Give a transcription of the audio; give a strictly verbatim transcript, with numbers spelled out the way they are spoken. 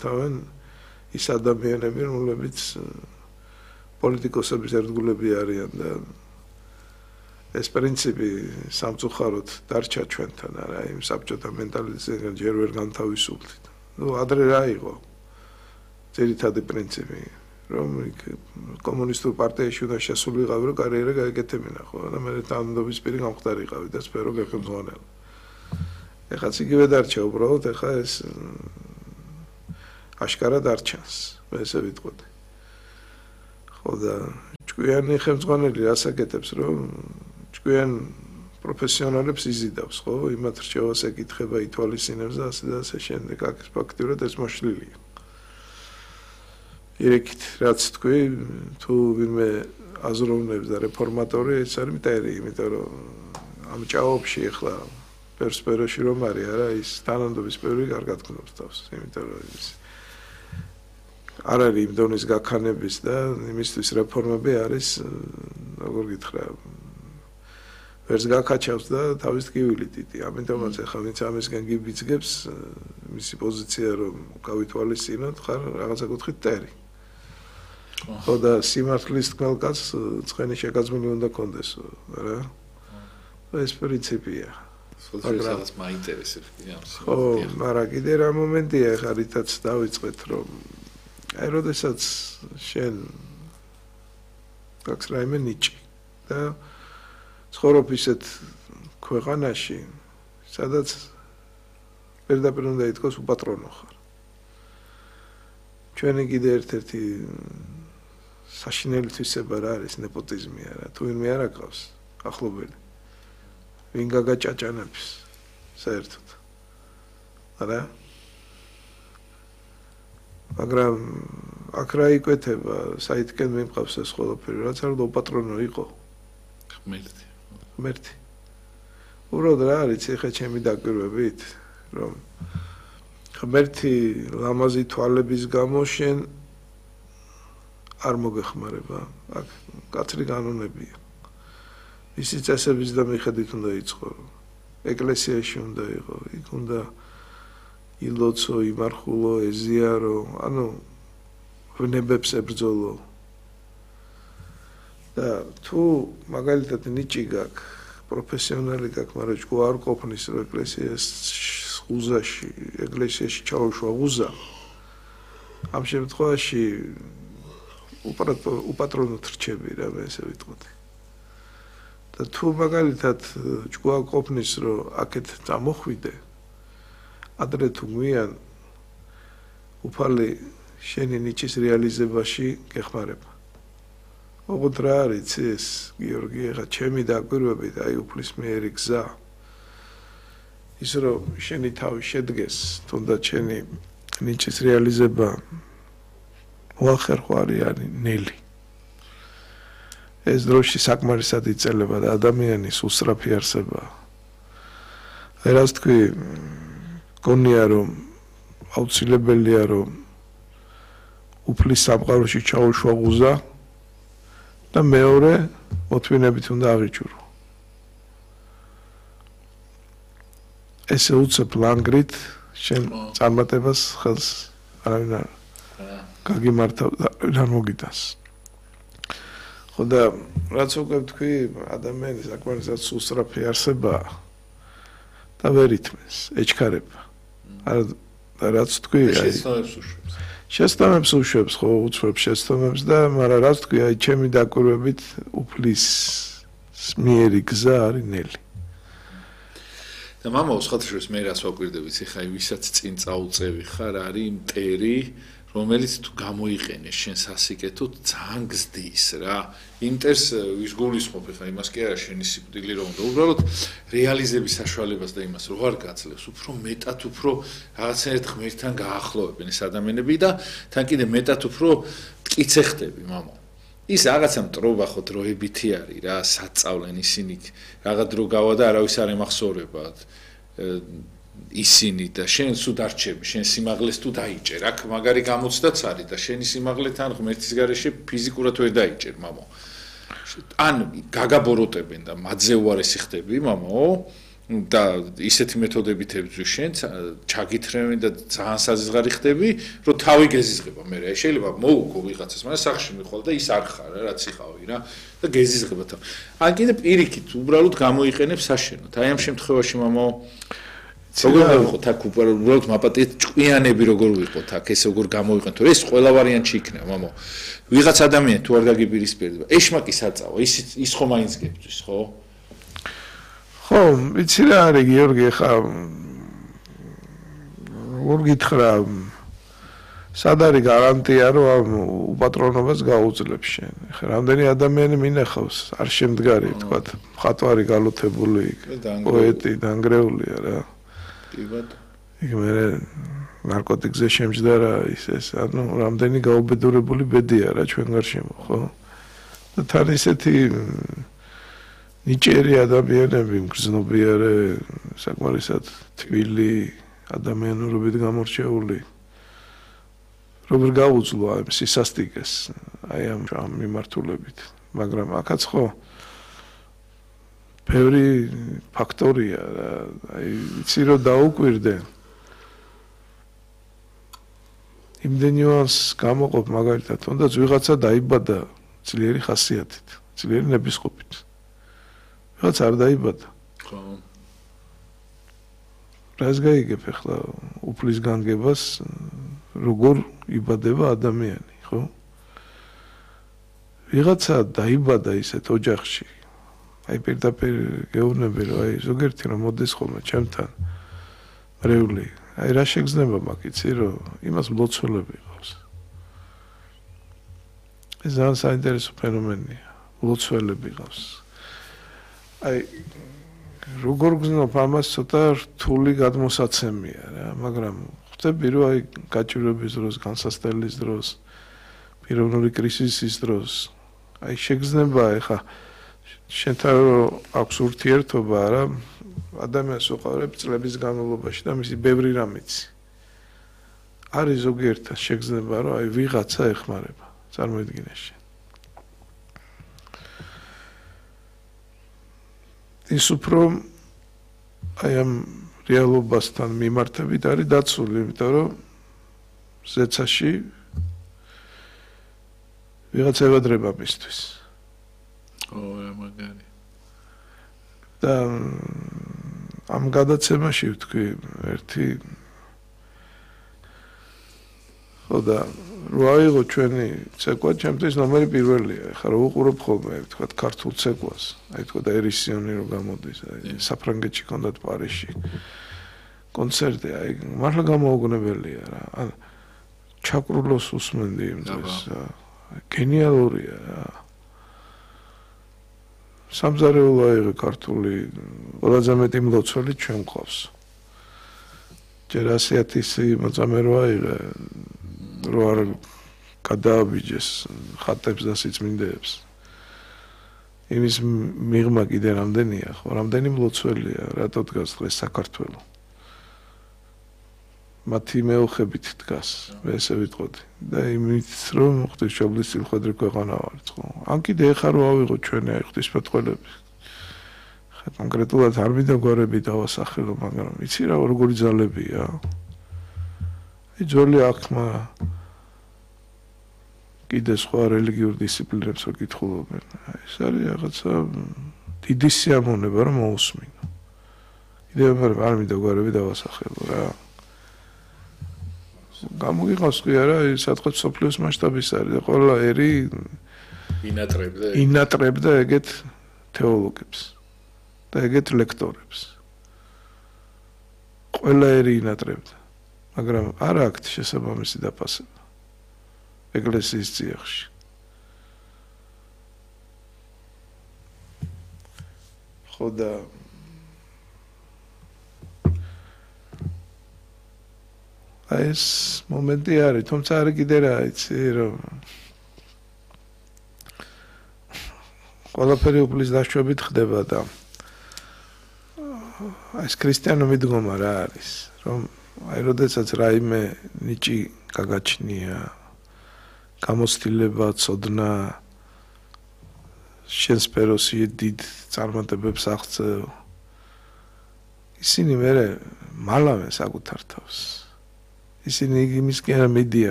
მართავენ ის ადამიანები, რომლებიც პოლიტიკოსების ერთგულები არიან და ეს პრინციპი სამწუხაროდ დარჩა ჩვენთან, არა, იმ საბჭოთა მენტალიტეტიდან ჯერ ვერ განთავისუფლდით. ნუ ადრე რა იყო? ძირითადი პრინციპი, რომ კომუნისტურ პარტიაში უნდა შესულიყავი, რომ კარიერა გაეკეთებინა, ხო? და მე თანამდებობის პირი გამხდარიყავი და სფერო გეხმძღვანელა. ეხაც იგივე დარჩა უბრალოდ, ეხა ეს აშკარად არ ჩანს, მე ესე ვიტყოდი. ხო და ჭკვიანი ხელმძღვანელი რას აკეთებს, რომ ჭკვიან პროფესიონალებს იზიდავს, ხო? იმათ რჩევას ეკითხება, ითვალისწინებს და ასე და ასე შემდეგ, აქ ფაქტიურად ეს მოშლილია. ირექით, რაც თქვი, თუ ვინმე აზროვნებს და რეფორმატორი, ეს არის მტერი, იმიტომ რომ ამ ჭაობში ახლა პერსპეროში რომ არის, არა, ის თანამდებობის პერიოდი კარგად გნობს თავს, იმიტომ რომ ის არ არის იმ დონის გაქანების და იმისთვის რეფორმები არის, როგორ გითხრა, ვერც გაკაჩავს და თავის ტკივილი დიდი. ამიტომაც ახლა ვინც ამისგან გიბიძგებს, მისი პოზიცია რომ გავითვალისწინოთ, ხარ რაღაცა კუთხით ტერი. ხო და სიმართლის თქმელ კაცს ცხენი შეგაძმილი უნდა კონდესო, რა? ეს პრინციპია. მაგრამ მაინტერესებს ხო, მაგრამ კიდე რა მომენტია ახლა რითაც დავიწყეთ რომ აი როდესაც შენ გაქვს რაიმე ნიჭი და ცხოვრობ ისეთ ქვეყანაში, სადაც პირდაპირ უნდა ითქვას უპატრონო ხარ. ჩვენი კიდე ერთ-ერთი საშინელი თვისება რა არის ნეპოტიზმი არა, თუ ვინმე არ აკავს ახლობელი. ვინ გაგაჭაჭანებს საერთოდ. არა? მაგრამ აქ რა იკვეთება, საითკენ მიმყავს ეს ყველაფერი, რაც არ უნდა უპატრონო იყო. ღმერთი. ღმერთი. უბრალოდ რა არის ეხა ჩემი დაკვირვებით, რომ ღმერთი ლამაზი თვალების გამო შენ არ მოგეხმარება. აქ კაცრი კანონებია. ისი წესების და მიხედვით უნდა იცხოვრო. ეკლესიაში უნდა იყო, იქ უნდა ილოცო, იმარხულო, ეზიარო, ანუ ვნებებს ებრძოლო. და თუ მაგალითად ნიჭი გაქვს, პროფესიონალი გაქვს, მაგრამ ჯგო არ ყოფნის რომ ეკლესიას ღუზაში, ეკლესიაში ჩაუშვა ღუზა. ამ შემთხვევაში უპატრონოდ რჩები რა, მე ესე ვიტყოდი. და თუ მაგალითად ჯგო ყოფნის რომ აქეთ წამოხვიდე, ადრე თუ გვიან უფალი შენი ნიჭის რეალიზებაში გეხმარება. ოღონდ რა არის ეს, გიორგი, ახლა ჩემი დაკვირვებით, აი უფლისმიერი გზა. ის რომ შენი თავი შედგეს, თუნდაც შენი ნიჭის რეალიზება მოახერხო არის არის ნელი. ეს დროში საკმარისად იწელება და ადამიანის უსწრაფი არსებაა. რას თქვი, გონია რომ აუცილებელია რომ უფლის სამყაროში ჩაუშვა ღუზა და მეორე მოთმინებით უნდა აღიჭურო. ესე უცებ ლანგრით შენ წარმატებას ხელს არავინ არ გაგიმართავ და არ მოგიტანს. ხო და რაც უკვე თქვი, ადამიანის საკმარისად უსწრაფი არსებაა და ვერ ითმის, ეჩქარება. და რაც თქვი, აი შეცდომებს უშვებს. შეცდომებს უშვებს, ხო, უცვლებს შეცდომებს და მაგრამ რაც თქვი, აი ჩემი დაკვირვებით უფლის მიერი გზა არის ნელი. და მამა უსხათშორის მე რას ვაკვირდებით, ეხლა ვისაც წინ წაუწევი ხარ, არის მტერი, რომელიც თუ გამოიყენეს შენ სასიკეთოდ ძალიან გზდის რა. იმტერს ვის გულისხმობ ეხლა იმას კი არა შენი სიკვდილი რომ და უბრალოდ რეალიზების საშუალებას და იმას რო არ გაძლევს, უფრო მეტად უფრო რაღაცნაირად ღმერთთან გაახლოვებენ ეს ადამიანები და თან კიდე მეტად უფრო მტკიცე ხდები მამა. ის რაღაცა მტრობა ხო დროებითი არის რა, საწავლენ ისინი რაღაც დრო გავა და არავის არ ემახსოვრება. ისინი და შენ სულ დარჩები, შენ სიმაღლეს თუ დაიჭერ, აქ მაგარი გამოცდაც არის და შენი სიმაღლეთან ღმერთის გარეშე ფიზიკურად ვერ დაიჭერ, მამო. ან გაგაბოროტებენ და მადზე უარესი ხდები, მამო, და ისეთი მეთოდებით ებრძვის შენ ჩაგითრევენ და ძალიან საზღარი ხდები რომ თავი გეზიზღება მე რა შეიძლება მოუგო ვიღაცას მაგრამ სახში მიხვალ და ის არ ხარ რა რაც იყავი რა და გეზიზღება თავი ან კიდე პირიქით უბრალოდ გამოიყენებს საშენოდ აი ამ შემთხვევაში მამა როგორ ვიყოთ აქ უბრალოდ მაპატიეთ ჭკვიანები როგორ ვიყოთ აქ ეს როგორ გამოიყენოთ ეს ყველა ვარიანტი იქნება მამა ვიღაც ადამიანი თუ არ გაგიპირისპირდება ეშმაკი საწავა ის ის ხომ აინც გებძვის ხო ხო, იცი რა არის გიორგი, ხა როგორ გითხრა, სად არის გარანტია, რომ ამ უპატრონობას გაუძლებს შენ. ხა რამდენი ადამიანი მინახავს, არ შემდგარი, თქვათ, მხატვარი გალოთებული, პოეტი დანგრეულია რა. კი ბატონო. იქ მე ნარკოტიკზე შემჯდა რა ის ეს, ანუ რამდენი გაუბედურებული ბედია რა ჩვენ გარშემო, ხო? და თან ისეთი ნიჭიერი ადამიანები მგრძნობიარე საკმარისად თბილი ადამიანურობით გამორჩეული როგორ გაუძლო ამ სისასტიკეს აი ამ მიმართულებით მაგრამ აქაც ხო ბევრი ფაქტორია აი იცი რომ დაუკვირდე იმდენ ნიუანსს გამოყოფ მაგალითად თუნდაც ვიღაცა დაიბადა ძლიერი ხასიათით ძლიერი ნებისყოფით რაც არ დაიბადა. ხო. რას გაიგებ ახლა უფლის განგებას როგორ იბადება ადამიანი, ხო? ვიღაცა დაიბადა ისეთ ოჯახში. აი პირდაპირ გეუბნები რომ აი ზოგიერთი რომ მოდის ხოლმე ჩემთან მრევლი. აი რა შეგრძნება მაგ იცი რომ იმას მლოცველები ყავს. ეს ძალიან საინტერესო ფენომენია. მლოცველები ყავს. აი როგორ გზნობ ამას ცოტა რთული გადმოსაცემია რა მაგრამ ხვდები რომ აი გაჭირვების დროს განსასწრების დროს პიროვნული კრიზისის დროს აი შეგრძნება ეხა შენთან აქვს ურთიერთობა რა ადამიანს უყურებ წლების განმავლობაში და მისი ბევრი რამიც არის ზოგიერთად შეგრძნება რომ აი ვიღაცა ეხმარება წარმოიდგინე შენ ის უფრო აი ამ რეალობასთან მიმართებით არის დაცული, იმიტომ რომ ზეცაში ვიღაცა ევადრება მისთვის. ო, რა მაგარი. და ამ გადაცემაში ვთქვი ერთი ხოდა რო აიღო ჩვენი ცეკვა, ჩემთვის ნომერი პირველია. ხა რო უყურებ ხოლმე, თქვა ქართულ ცეკვას. აი თქვა და ერისიონი რო გამოდის, აი საფრანგეთში კონდათ პარიზში. კონცერტი, აი მართლა გამოუგნებელია რა. ან ჩაკრულოს უსმენდი იმ დროს. გენიალურია რა. სამზარეულო აიღე ქართული, ყველაზე მეტი მლოცველი ჩვენ ყავს. ჯერ ასიათისი მოწამე რო აიღე რო არ გადააბიჯეს ხატებს და სიწმინდეებს იმის მიღმა კიდე რამდენია ხო რამდენი მლოცველია რატო დგას დღეს საქართველო მათი მეოხებით დგას მე ესე ვიტყოდი და იმით რომ ღვთისმშობლის სილხვედრი ქვეყანა ვართ ხო ან კიდე ეხა რო ავიღო ჩვენი აი ღვთისმეტყველები ხა კონკრეტულად არ მინდა გვარები დავასახელო მაგრამ იცი რა როგორი ძალებია ძველი აღქმა კიდე სხვა რელიგიურ დისციპლინებს ვაკითხულობენ. ეს არის რაღაცა დიდი სიამოვნება რომ მოусმინო. კიდევ არ მინდა გვარები დავასახელო რა. გამოგიყავს კი არა, სადღაც სოფლიოს მასშტაბის არის და ყველა ერი ინატრებდა ინატრებდა ეგეთ თეოლოგებს და ეგეთ ლექტორებს. ყველა ერი ინატრებდა. მაგრამ არ აქვს შესაბამისი დაფასება ეკლესიის წიაღში. ხო და ეს მომენტი არის, თუმცა არის კიდე რა იცი რომ ყველაფერი უფლის დაშვებით ხდება და ეს ქრისტიანული მიდგომა რა არის, რომ აი როდესაც რაიმე ნიჭი გაგაჩნია, გამოცდილება, ცოდნა, შენ სფეროსი დიდ წარმატებებს აღწევ, ისინი მერე მალავენ საკუთარ თავს ისინი იმისკენ მიდიან